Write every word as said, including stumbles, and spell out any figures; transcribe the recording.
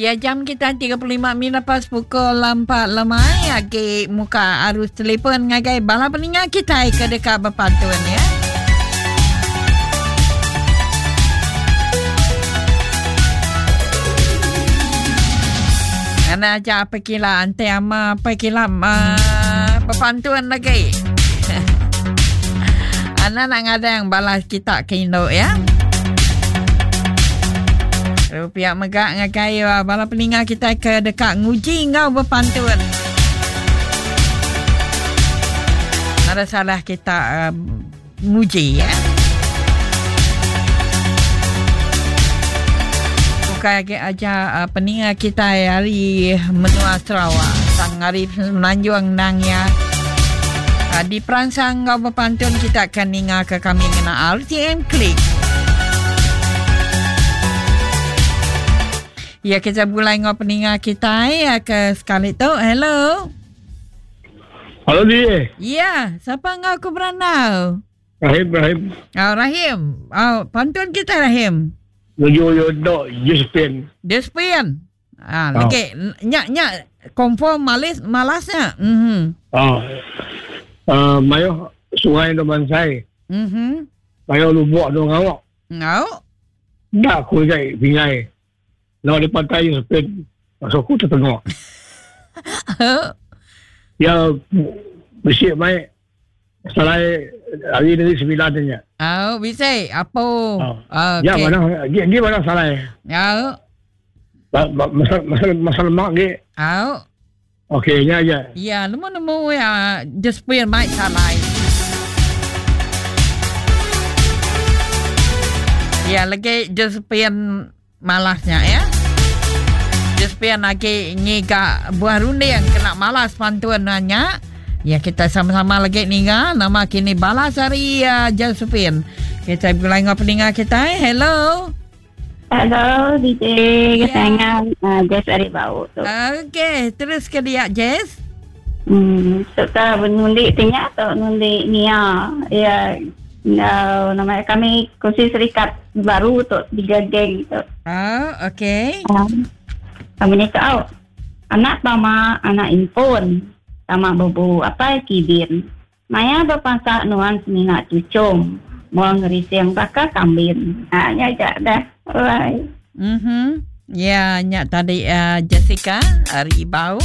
Ya, jam kita tiga puluh lima minit lepas pukul empat lemai. Agi muka arus telefon ngagai bala peninga kita ke dekat berpantun ya. Ana aja apa kila ante ama apa kila uh, berpantun lagi. Ana nak ngadang balas kita ke induk ya. Rupiah megak ngagai bala peninga kita ke dekat nguji ngau berpantun. Ada salah kita uh, nguji ya. Bukan lagi aja uh, peninga kita hari menua Sarawak, sang hari Semenanjung nang ya. Uh, di perangsang ngau berpantun kita akan ninga ke kami ngena R T M Klik. Ya, kita mulai ngau peninga kita ya ke sekali tu. Hello. Halo di. Ya, siapa ngau ku beranau? Rahim, Rahim. Oh, Rahim. Oh, pantun kita Rahim. Yo yo do Josephine. Josephine. Ah, oh. Lagi nyak nyak confirm malas malasnya. Mhm. Oh. Uh, mayo sungai do mansai. Mhm. Mayo lubuk do ngawak. Ngau. Dak ku jai pingai. Lawa di pantai Josephine. Masuk aku tertengok. Ya, bisik mai selai hari negeri sembilan nya. Oh, bisik apa? Oh. Okay. Ya, mana? Gi gi mana salai? Ya. Masa masa masa lemak gi. Oh. Okey, nya ya. Ya, nemu-nemu ya just pun mai salai. Ya, lagi just pun malasnya ya. Josephine lagi ngiga buah runding kena malas pantun nanya. Ya, kita sama-sama lagi ninga nama kini balas hari uh, Josephine. Kita mulai ngau peninga kita. Hello. Hello D J, kesayangan uh, Jess ari bau tu. Okey, terus ke dia Jess. Hmm, serta menundi tinya atau nundi Nia. Ya, no, nama kami kursi serikat baru tu tiga geng tu. Oh, okey. Um, kami ni tahu anak mama, anak impun, sama bubu apa kibin. Maya berpasak nuan semina cucum, mau ngerising bakal kambing. Ah, nya aja dah. Alright. Mhm. Ya, nyak tadi uh, Jessica ari bau.